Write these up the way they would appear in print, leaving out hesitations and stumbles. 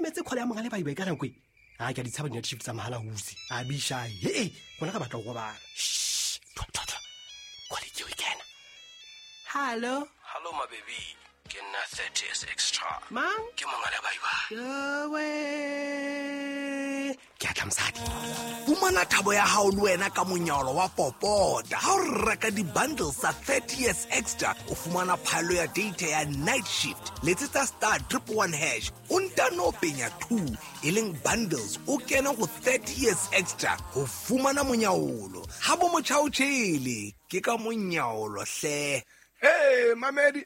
emetse kgole ya monga le baibai ka nako e a ke a di tshaba di-night shift tsa mahala huse a bishae ee gona ga batla go robala. Shh, thwa, thwa, thwa. Kgole ke o e kena. Hallo. Hallo mabebi, ke nna 30 years extra. Mang? Ke monga le baibai. Jowe. Ke a tla mosadi. Fumana thabo ya hao le wena ka monyalo wa popota. Ha o reka di-bundles tsa 30 years extra, o fumana phaello ya data ya night shift. Letsetsa star 111 hash, o ntano penya 2 e leng bundles, o kene go 30 years extra ho fumana monyaolo. Ha bo motjha o tjhele, ke ka monyaolo hle. Hey mamedi,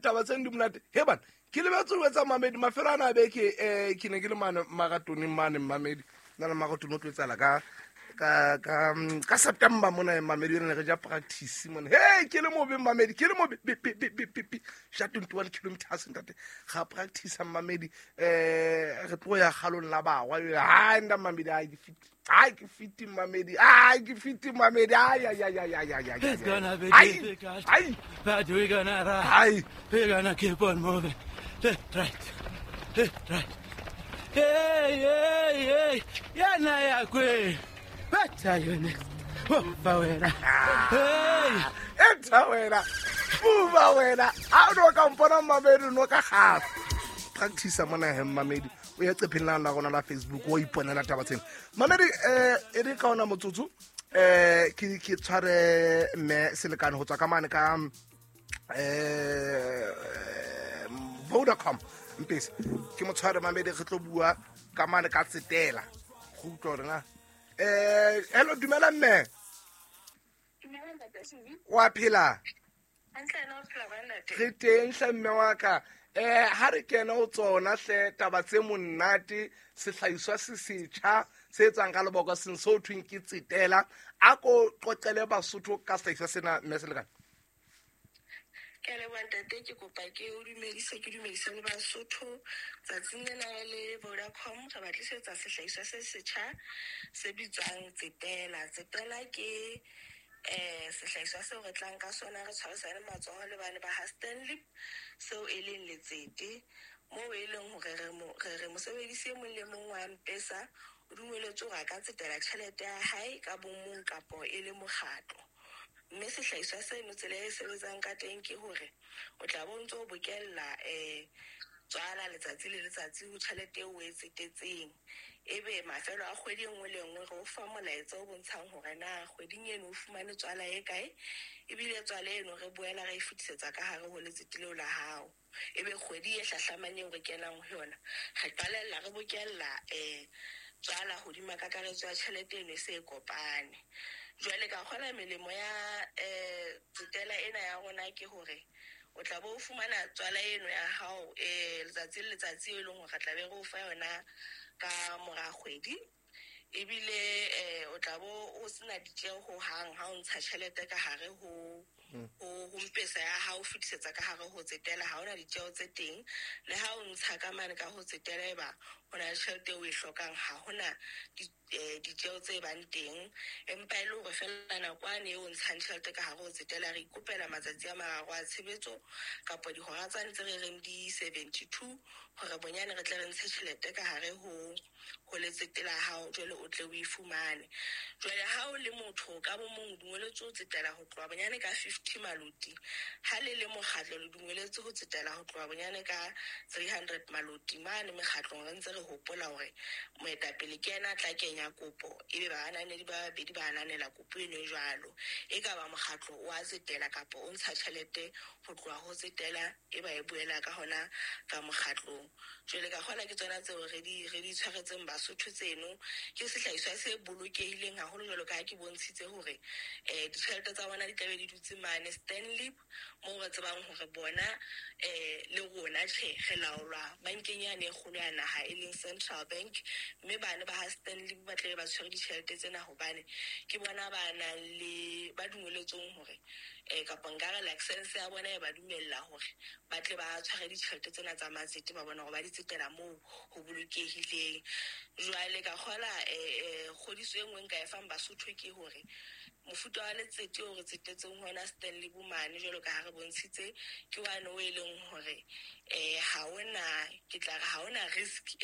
taba tse di monate he bana, ke lebetse ho etsa mamedi mafelo ana a beke. Ke ne ke le mane maratoneng mane mamedi, nna le maratone o tlo etsala ka September mona mamedi, re ne re ja practice mona. Hey, ke le mobe mamedi, ke le mobe be be be be be be ja 21 kilometers ntate, ga practice mamedi. Re tlo ya galong la bagwa ha nda mamedi, ai ke fit, ai ke fit mamedi, ai ke fit mamedi, ai ai ai ai ai ai ai. It's gonna be ai difficult, ai but we're gonna ride. Ai. We're gonna keep on moving. Left, right, left, right. Hey, hey, hey. Yana yakwe. What are you next? Mova wena. Hey. Etha wena, buba wena, ha o no ka mpona mamedi, no ka gafa practice mona he mamedi. O ya qepheng la rona la Facebook, o iponela taba tsena mamedi. E re ka ona motsotso, ke tshware mme Selekane ho tswa ka mane ka Vodacom Mpesa, ke mo tshware mamedi, re tlo bua ka mane ka tsetela go utlwa hore na. Hello, dumela mme. Dumela ntate Suzy. Wa phela? Hantle, ena o phela ba ntate? Re teng hle mme wa ka. Ha re kena ho tsona hle taba tse monate, sehlahiswa se setjha se etsang ka lebokoseng se ho thweng ke tsetela, a ko qoqele Basotho ka sehlahiswa sena mme Selekane. Ke a leboha ntate, ke kopa ke o dumedise, ke dumedise le Basotho. Tsatsing lena le Vodacom re ba tlisetsa sehlahiswa se setjha se bitswang tsetela. Tsetela ke sehlahiswa seo re tlang ka sona re tshwarisane matsoho le bane ba ha Stanley, seo e leng letsete moo e leng hore re mosebedisi e mong le mong wa Mpesa o dumeletswe hore a ka tsetela tjhelete ya hae ka bomong kapo e le mokgatlo. Mme sehlahiswa seno tsela e sebetsang ka teng ke hore o tla bo ntso o bokella tswala letsatsi le letsatsi ho tjhelete eo o e tsetetseng. Ebe mafelo a kgwedi e nngwe le nngwe re o fa molaetsa o bontshang hore na kgweding eno o fumane tswala e kae, ebile tswala eno re boela re e fetisetsa ka hare ho letsete leo la hao. Ebe kgwedi e hlahlamang eo re kenang ho yona, re qalella re bokella tswala hodima kakaretso ya tjhelete eno e se e kopane. Jwale ka kgola melemo ya tsetela ena ya rona ke hore o tla bo o fumana tswala eno ya hao letsatsi le letsatsi e leng hore re tla be re o fa yona ka mora kgwedi. Ebile o tla bo o sena ditjeho hohang ha o ntsha tjhelete ka hare ho Mpesa ya hao, o fetisetsa ka hare ho tsetela, ha hona ditjeho tse teng. Le ha o ntsha ka mane ka ho tsetela, eba ho na le tjhelete eo o e hlokang, ha hona ditjeho tse bang teng. Empa e le hore feela nakwane eo o ntshang tjhelete ka hare ho tsetela, re ikopela matsatsi a mararo a tshebetso kapa dihora tsane tse re reng di 72 hore bonyane re tle re ntshe tjhelete ka hare ho letsete la hao, jwale o tle o e fumane. Jwale ha o le motho ka bo mong o dumeletswe ho tsetela ho tloha bonyane ka 50 maloti, ha le le mokgatlo le dumeletswe ho tsetela ho tloha bonyane ka 300 maloti. Mane mekgatlong re ntse re hopola hore moetapele ke yena a tla kenya kopo, ebe baananedi ba babedi ba ananela kopo eno e jwalo. E ka ba mokgatlo o a tsetela kapa o ntsha tjhelete ho tloha ho tsetela, e ba e boela ka hona ka mokgatlong. Jwale ka kgola ke tsona tseo re di tshwaretseng Basotho tseno. Ke sehlahiswa se bolokehileng haholo, jwalo ka ha ke bontshitse hore ditjhelete tsa bona di tla be di dutse mane Stanley, moo re tsebang hore bona le rona tjhe re laolwa bankeng yane e kgolo ya naha e leng Central Bank, mme bane ba ha Stanley ba tla be ba tshwere ditjhelete tsena hobane ke bona ba nang le ba dumeletsweng hore kapa nkare license ya bona e ba dumella hore ba tle ba tshware ditjhelete tsena tsa matsete, ba bona hore ba di tsetela moo ho bolokehileng. Jwale ka kgola kgodiso e nngwe nka e fang Basotho ke hore mofuta wa letsete o re tsetetseng hona Stanley Bomane, jwalo ka ha re bontshitse, ke wane o e leng hore ha hona, ke tla re ha hona risk e